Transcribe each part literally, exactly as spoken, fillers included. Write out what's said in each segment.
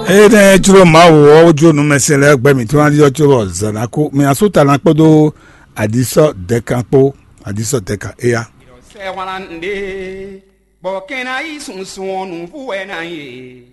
Eye ne jló Mawu ɔ́, wó jló nǔmɛsɛn lɛ́ɛ gbɛ mǐtɔn ná ɖiɖɔ có bɔ zǎn ná kú. Mǐ asú ta ná kpódó aɖisɔ dɛkan kpó, aɖisɔ dɛkan éya. Sɛ wlan ɖe, bɔ kɛn ná yi sunsun ɔ́ nǔvú wɛ ná nyí e.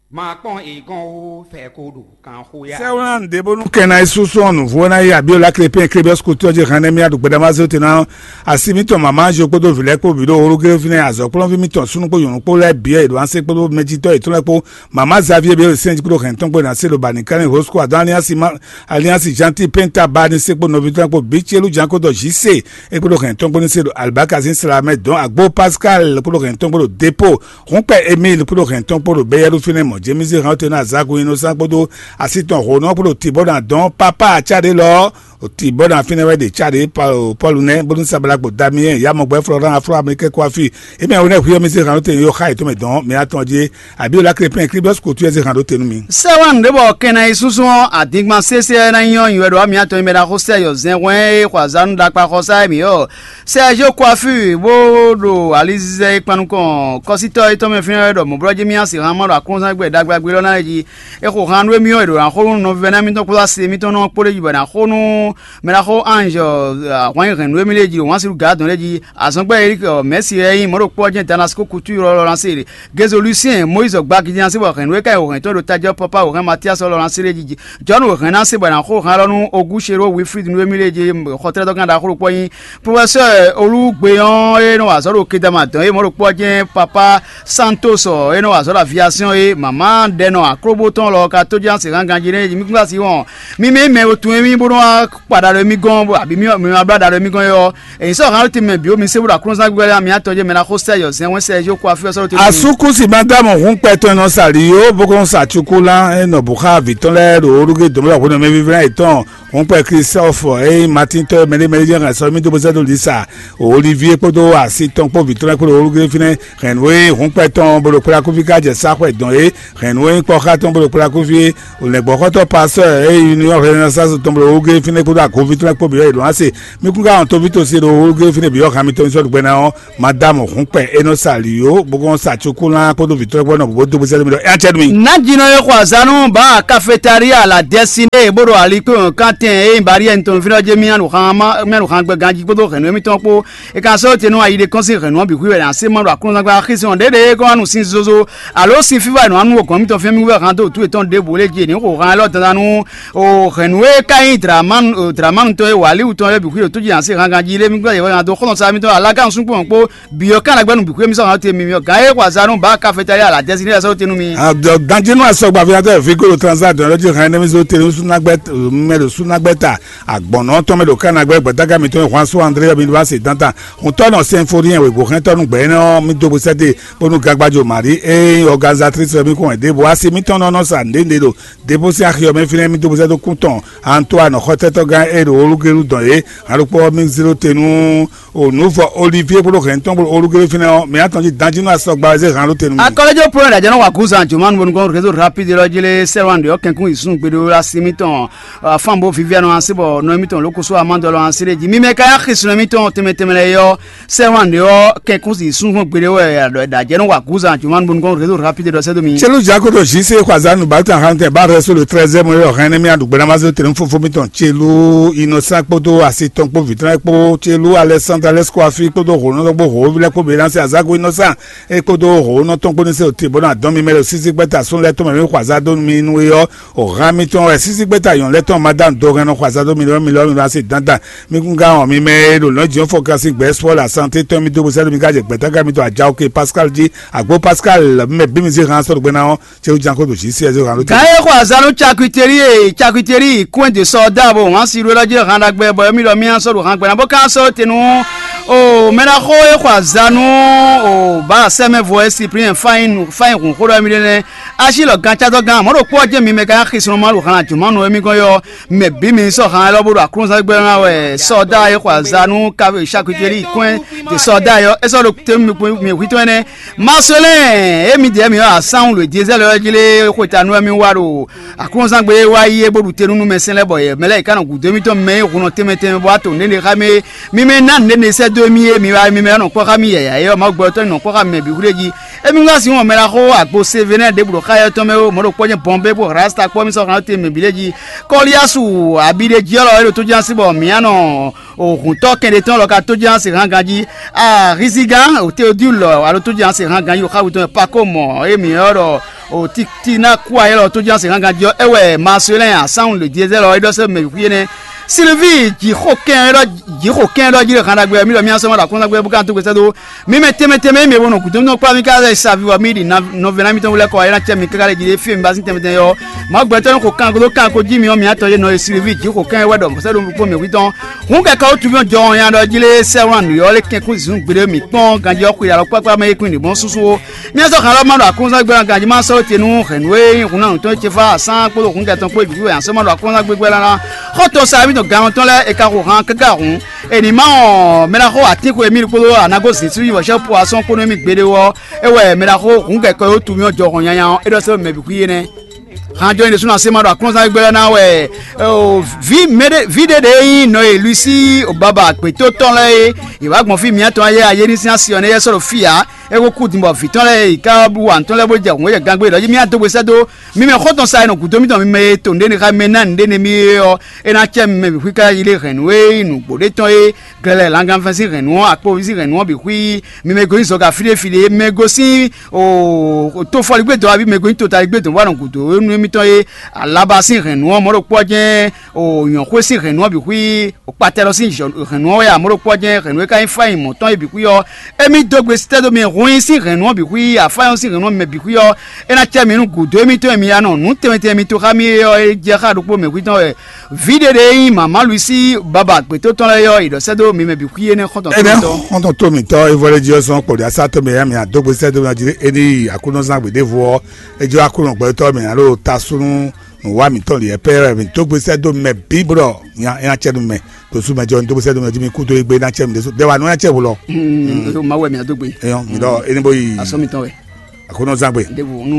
Ma kpɔn igɔn o, fɛ ko ɖo kan xó ya. Sɛ wlan ɖe bónú kɛn ná yi sunsun ɔ́ nǔvú wɛ ná yi. Abiola Clépin Clébius Couture jí hɛn nɛ́ mì aɖu gbɛɖamazé te ná asi mǐtɔn mama Anzio kpódó vǐ lɛ́ɛ kpó bǐ ɖo ológéfínɛ́ azɔ̌kplɔ́nví mǐtɔn súnnu kpó nyɔ̌nu kpó lɛ́ɛ bǐ e è ɖo ansé kpódó mɛjitɔ́ yětɔn lɛ́ɛ kpó. Mama Xavier bǐ e sɛ́n jí kpódó hɛn tɔn kpó ná se ɖo bani kánní hosco adɔn aliansi ma aliansi janti penta ba ní se kpó nɔví tɔn kpó bǐ celu janko dɔ jí se é kpódó hɛn tɔn kpó ní se ɖo alibaka sín sla mɛ dɔn agbo pascal kpódó hɛn tɔn kpó ɖo depo hunkpɛ emil kpódó hɛn tɔn kpó ɖo bɛyɛlu fínɛ mɔ jémísé hɛn tɔn ná zago innosan kpódó asi tɔn hǒnɔ kpódó tibɔ ná dɔn papa aca ɖé lɔ ti bɔ na fínɛ́ wɛ ɖe cáɖé pɔlu nɛ́ bónú sabala kpo damiyɛn yamɔgbɛ flɔran afro américain kó afi. Emi awo nɛ hwiyɔ mi se hàn ló te yo xa yetɔn mɛ dɔn mi atɔn jí. Abi ola krepin kribɔs ko tuyɛ se hàn ló te nú mi. Sɛwan ɖé bɔ kɛnɛ yi súnsún ɔ́ adingban sésé ɛ ná nyɔ nywɛ ɖo ami atɔn mɛ ná xó sɛ yɔ zɛn hwɛn e xɔ azanu ɖakpa xɔ sá mi ɔ́. Sɛ jo kó afi bó ɖo alizizɛ e kpan nukɔn kɔsítɔ yětɔn mɛ fínɛ́ wɛ ɖɔ mɔ̌ blɔ́ jí mì asi hàn ma ɖo aklúnzán gbɛ ɖagbe lɔ ná lɛ jí. É xo han nú émí ɔ́, è ɖo ná xo nú nɔvívɛ́ná mitɔn kpódó asi mitɔn nɔ kpó ɖ'é jí bɔ è nǎ xo nú mɛ ná xo ange ahwan nyi hɛ̌nnu émí lée jí ɖo wǎn sín gǎ dɔn lée jí. Azɔ̌gbɛ́ Erik Mɛ̌si e nyí mɔ̌ ɖokpó ɔ́ jɛ́n Damasiko kutu ylɔ́ lɔ ná se ɖe. Gezolúsiɛn Mɔyízi gbagidi ná se bɔ hɛ̌nnu e ká nyi hɛ̌ntɔn ɖo tají ɔ́ pɔ́pá wǒ hɛn Matíasi ɔ́ lɔ ná se ɖ'é jí. Jɔ̌nu wǒ hɛn ná se bɔ è nǎ xo han lɔ nú Ogúṣeró Wilfrid nú émí lée jí xɔtlɛ́tɔ́gán ɖaxó ɖokpó nyí. Profɛsɛ́ Olúgbe ɔ́ e nɔ wa azɔ̌ ɖo Kedama dɔn e mɔ̌ ɖokpó ɔ́ jɛ́n Papá Santos ɔ́ e nɔ wa azɔ̌ ɖo aviasɛ́n ɔ́ é mama ɖɛ nɔ aklóbó tɔn lɔ ka tó jɛ́n asi hán ganjí nɛ́ mi kún asi wɔn mi mɛ mɛ tun émí bó nɔ wá kpa ɖa ɖo émí gɔ́n bó abǐ mi mi ma blá ɖa ɖo émí gɔ́n é ɔ́ èyí sɔ́ hán tɛnmɛ bǐ mi sé bó ɖo aklúnɔzán gbígbá lé mi atɔn jɛ mɛ ná xó sɛ yɔ zɛn wɛn sɛ yó kó afí ɔ́ sɔ́ ɖo tɛnmɛ. Asukusi Madamu hun kpɛtɔn nɔ sa li yó bó kɔn sa cuku lan e nɔ bó xa vǐ tɔn lɛ́ɛ ɖo orúgé dǒmlá hwenu mɛ vívlá yětɔn. Hun kpɛ Kristɔfu e nyí Matín tɔ́ e mɛɖé mɛɖé jɛ́n hɛn sɔ́ mì dó bó sɛ́ dó Lisa. Olivie kpódó asi tɔn kpó vǐ tɔn lɛ́ɛ kpó ɖo orúgé fínɛ́. Hɛ̌nnu e hun kpɛ tɔn bó ɖo kplákúví ká jɛ sáxwɛ dɔn é. Hɛ̌nnu e nyí kpɔ́xá tɔn bó ɖo kplákúví é. Lɛ̌ngbɔ́xɔ́tɔ́ pasɔ́ e nyí Union Renaissance tɔn bó ɖo orúgé fínɛ́ kpódó agǒví tɔn lɛ́ɛ kpó bǐ wɛ è ɖǒ ná se. Mi kún ká wɔn tóví tó se ɖo orúgé fínɛ́ bǐ ɔ́ han mitɔn ní sɔ́ ɖo gbɛ ná ɔ́. Madamu hun kpɛ e nɔ sa ali yó bó kɔn sa cukúlán kpódó vǐ tɔn lɛ́ɛ kpó nɔ bó dó bó sɛ́ dó mi ɖɔ é ná cɛ nú mi. Nǎjínɔ e xɔ azǎn nú bǎ kafetaria la dɛsiné bó ɖo ali kpé wɔn kántɛn e nyí bariyɛ tɔn fínɛ́ ɔ́ jɛ mì ɖo xan gbɛ ganjí kpódó hɛ̌nnu émítɔn kpó. È ka sɔ́ te nú ayi ɖé kɔn sín hɛ̌nnu ɔ́ bǐ xwí wɛ ná sé ma ɖo aklúnzán gbá xísɔn ɖěɖě kɔn wá nu sín zozo alo sín fífá è nɔ wá nú gɔ̌n mítɔn fɛ́n mì wɛ hán dó wǔtu yětɔn ɖěbǔ lé jí è nǐ xo han élɔ́ dandan nú o hɛ̌nnu e ka nyí Dramanu tɔn e wǎ líwú tɔn lɛ́ɛ bǐ xwí ɖo tó jí ná sé hán ganjí lé mí gbɛ́ yě wɛ hán dó xɔ́nɔ sá mítɔn alágán nukúnkún kpó bǐ ɔ́ ká ná gbɛ́ nǔ bǐ xwé mí sɔ́ hǎn te mi mi ɔ́ gǎn e xɔ azǎn nú bǎ kafetali alǎdɛ́sí ní ɛsɔ́ te nú mi. Danjínú asɔgba fífá tɔ́ fí kó ɖo transa dɔn lɔ́ jí hɛn nɛ́mí zó te nú súnagbɛ́ mɛ ɖo súnagbɛ́ ta agbɔ̌nɔ tɔn mɛ ɖo kánagbɛ́ gbɛ̌dágá mitɔn e hwan sú André ɔ́ mi wá se dantan. Huntɔ́ nɔ sɛnfóniyɛn wěgbóhɛntɔ́ nú gbɛ̌ énɛ́ ɔ́ mi dó bó sɛ́ te bónú gagbájo Marie e nyí organisatrice ɔ́ mi kɔn wɛ ɖěbǔ asi mitɔn nɔ nɔ sa nǔɖé ɖo debosí axi ɔ́ mɛ fínɛ́ mi dó bó sɛ́ dó kún tɔn Antoine xɔtɛ́tɔ́gán e ɖo olúgelu dɔn é hǎn ɖokpó ɔ́ mi zló te nú O nǔvɔ Olivier kpódó hɛn tɔn kpódó olúgélé fínɛ́ ɔ́, mǐ atɔn jí danjí nú asɔgba wɛ zé hǎn ɖó te nú mì. Akɔlɛjɔ Pɔ́lu ɖajɛ nɔ wa gǔzan jǒmanu bónú gɔ́n réseau rapide lɔ jí lé sɛ́lwan ɖě ɔ́ kɛnkún yi zun gbeɖé wɛ asi mitɔn afán bó vivianɔ asi bɔ nɔ émítɔn ló kosó amádɔ lɔ asi ɖé jí. Mi mɛ ka nyí axisúnɔ émítɔn tɛnmɛ tɛnmɛ lɛ́ɛ ɔ́, sɛ́lwan ɖě ɔ́ kɛnkún yi zun gbeɖé wɛ ɖajɛ nɔ wa gǔzan jǒmanu bónú gɔ́n réseau rapide lɔ sɛ́ dó mi. Celu Jakoto Jise Kwazanu Balta Hante Barre sur le treizième rue René Miadou Gbenamazo Tenu Fofo Miton Celu Innocent kpódó asi tɔn kpó vǐtɔ́n kpó Celu Alexandre Alexkó afi kpódó hǒnɔ́tɔ́ kpó hǒví lɛ́ɛ kpó Běnasi Azágo Innocent é kpódó hǒnɔ́ tɔn kpó ní se òtí bó ná dɔn mi mɛ ɖo sísí gbɛ́ta sún lɛ́ɛ tɔn mɛ mi xɔ azá dó mi nú é ɔ́. Òhan mitɔn wɛ sísí gbɛ́ta yɔn lɛ́ɛ tɔn ma dá ndo hɛn nɔ xɔ azá dó mi lɔ́ mi lɔ́ mi ná se dandan. Mi kún gán ɔn mi mɛ e ɖo nɔ̌ jǐ ɔ́ fɔ kasi gbɛ̌ sɔ́ le asante tɔn mi dó bó sɛ́ mi ká jɛ gbɛ̌tágá mitɔn ajawo ke Pascal jí agbo Pascal mɛ bí mi zé han sɔ́ ɖo gbɛ ná ɔ́. Céwu jan kó ɖo jí sí ɛzé hàn ló tɛ. Gǎn e xɔ azǎn nú cakiteri e cakiteri kún de sɔ dá bo wǎn si ɖó lɔ jí hàn ɖagbe bɔ émí ɖɔ mí sɔ́ ɖo hàn gbɛ́ná bó ka sɔ́ te nú o mɛ ná xó e xɔ azǎn nú o bá sɛmɛ vo e Cyprien fain fain hun xó ɖɔ émí ɖé nɛ́. Asi lɔ gan cátɔ gán mɔ̌ ɖo kpó ɔ́ jẹ́ mi mɛ ka xisɔn ma ɖo hàn jùmɔ́nu émí gɔ́n yɔ mɛ bí mi sɔ hàn lɔ bó ɖo aklúnzán gbɛ́ ná wɛ sɔdá e xɔ azǎn nú cakiteri kún de sɔdá yɔ é sɔ́ ɖo te mi hwítɔ́ ɛnɛ. Maselɛn, emi dɛ mi ɔ́, asán wǔ lǒ díezɛ́ lɛ́ɛ jí lé xwetanu wɛ mi wa ɖo aklúnzán gbe e wá yi é bó ɖu te nú numɛsɛn lɛ́ɛ bɔ yɛ mɛ lɛ́ɛ yi ká nɔ gǔdo émítɔn mɛ e hun nɔ tɛnmɛ tɛnmɛ bɔ wá to nǔɖé xá mɛ. Mi mɛ ná nǔɖé sɛ́ to émí e mi wá mi mɛ nɔ kpɔ́ xá mì yɛ̌yɛ́ é ɔ́, Mawu gbɛtɔ́ nɔ kpɔ́ xá mì mɛ bǐ xwlé jí. Émí wá sin wɔn mɛ ná xó agbo Sevene ɖěbǔ ɖo xá yɛ tɔn mɛ ó, mɔ̌ ɖo kpɔ́ nyɛ bɔn bé bó rasta kpɔ́ mì sɔ́ xlán te mɛ bǐ lɛ́ɛ jí. Kɔliyasu abi ɖé jí ɔ́ lɔ é ɖo tójánsi bɔ mǐ nɔ hǔntɔ́ kɛnɖé tɔn lɔ ka tójánsi hán ganjí. Arizigán Teodule alo tójánsi hán ganjí ɖo xá wutɔn Pako mɔ émí ɔ́ ɖɔ o titina kú ayé lɔ tójánsi hán ganjí ɔ́, é wɛ Marcelin asánwun le diezɛ́ lɔ é ɖɔ sɛ́ mɛ xwí énɛ́. Sylvie jǐxo kɛn ɖɔ jǐxo kɛn ɖɔ jí ɖo hán ɖagbe ɔ́, mí ɖɔ mí asɔ́ ma ɖo akɔ́nzán gbé bó ka tó gbèsè dó. Mí mɛ tɛnmɛ tɛnmɛ e mɛ bo nɔ gǔdo nɔ kplá mí káká sa viwɔ mí ɖi nɔvɛ́ná mítɔn wú lɛ́ɛ kɔ é ná cɛ mí káká lɛ jí ɖé fí e mi ba sín tɛnmɛ tɛnmɛ ɔ́. Mawu gbɛtɔ́ ní xo kan ko dó kan ko jí mi ɔ́, mi atɔ yé nɔ e Sylvie jǐxo kɛn wɛ ɖɔ sɛ́ ɖo kpó mɛ hwítɔn. Hǔn kɛkɛ wó tu mí ɔ́ jɔ nya ɖɔ jí lé sɛ́ wlán nǔ ɔ́ lé kɛn kún zǐn gbeɖé mǐ kpɔ́n ganjí ɔ́ xwe alɔ kpákpá mɛ é kún ɖi mɔ̌ súsú ó. Mí sɔ́ xan lɔ ma ɖo akɔ́nzán gbé ganjí ma sɔ́ te nú hɛ̌nnu e nyí hun ná nǔtɔn ce fá asán kpódó hǔn kɛtɔn kpó bǐ wɛ asɔ́ ma ɖo akɔ́nzán gbégbé lánlá. Xɔ́ntɔn sa mítɔn gǎn tɔn lɛ́ɛ è ka xo han káká hǔn. È nǐ má ɔn mɛ ná xo atín xwe mí kpódó anagó zǐn sú yi wɔ̌xɛ́ po asɔ́n kpó nú émí gbeɖé ɔ́, é wɛ mɛ ná xo hǔn kɛkɔ e wó tu mì ɔ́ jɔ hɔn nyanya ɔ́, é ɖɔ sɛ́ mɛ bǐ xwí énɛ́. Han jɔnyi ɖésú ná sé ma ɖo aklúnɔzán gbé lɛ́ɛ ná wɛ vǐ mɛɖé vǐ ɖé ɖě nyí nɔ e Luisi Obaba gbětó tɔn lɛ́ɛ é. Yě wá gbɔn fí mǐtɔn ayé ayé ní sín asi ɔ́ nɛ́ yɛ sɔ́ ɖo fí ǎ. É ko kú din bɔ vǐ tɔn lɛ́ɛ yi ká wa nǔ tɔn lɛ́ɛ bó jɛ hǔn é jɛ gangbé ɖɔ jí mì adó gbe sɛ́ dó. Mi mɛ xɔ́ntɔn sa e nɔ gǔdo mítɔn mi mɛ e to nǔɖé ní xá mi mɛ ná nǔɖé nɛ́ mí é ɔ́, é ná cɛ mi mɛ bǐ xwí ká yi lé hɛ̌nnu e nyí nǔgbó ɖé tɔn é. Glɛ́ lɛ́ɛ langanfɛn sín hɛ̌nnu ɔ́, akpoví sín hɛ̌nnu ɔ́ bǐ xwí. Mi mɛ gosín zɔga fí ɖé fí ɖé, mɛ gosín tofɔligbé dɔn abí mɛ gosín totaligbé dɔn bó wá nɔ gǔdo nú émítɔn é. Alaba sín hɛ̌nnu ɔ́, mɔ̌ ɖokpó ɔ́ jɛ́n nyɔ̌xwé sín hɛ̌nnu ɔ́ bǐ xwí. Kpatɛlɔ sín hɛ̌nnu ɔ́ wɛ amɔ̌ ɖokpó ɔ́ jɛ́n hɛ̌nnu e ka nyí fáin mɔ̌tɔn é bǐ xwí ɔ́, émí dó gbe sítɛ́ dó mi hun nyi sín hɛ̌nnu ɔ́ bǐ xwí, afáyɔn sín hɛ̌nnu ɔ́ mɛ bǐ xwí ɔ́, é ná cɛ mi nú gǔdo émítɔn e mi ya nɔ nǔ tɛnmɛ tɛnmɛ mitɔn xá mí é ɔ́, é jɛ xá ɖokpó mɛ xwítɔn wɛ. Vǐ ɖé ɖě nyí mama Luisi baba gbětótɔn lɛ́ɛ ɔ́, è ɖɔ sɛ́ dó mi mɛ bǐ xwí énɛ́ xɔ́ntɔn Énɛ́ tɔn. Xɔ́ntɔn tó mǐtɔn Evolediɔ́sɔn kpɔɖi asá tɔn mɛ ya mǐ adó gbe sɛ́ dó mɛ jí éní yi Aklúnɔ zán gběɖěvo ɔ́, é jló Aklúnɔ gbɛtɔ́ mɛ alo tasúnú nǔwá mǐtɔn ɖi ɛpɛ́ wɛ mǐ dó gbe sɛ́ dó mɛ bǐ bó ɖɔ nya é ná cɛ nú mɛ. Ɖo sú mɛ jɔ ní dó gbe sɛ́ dó mɛ jí mi kú dó égbé ná cɛ mí ɖésú dɛ́ wa nú ná cɛ wǔ lɔ. Mawu wɛ mǐ adó gbe. Eyɔn mi ɖɔ éní bó yi asɔ́ mitɔn wɛ. Aklúnɔ zán gbe. Ɖěvo nú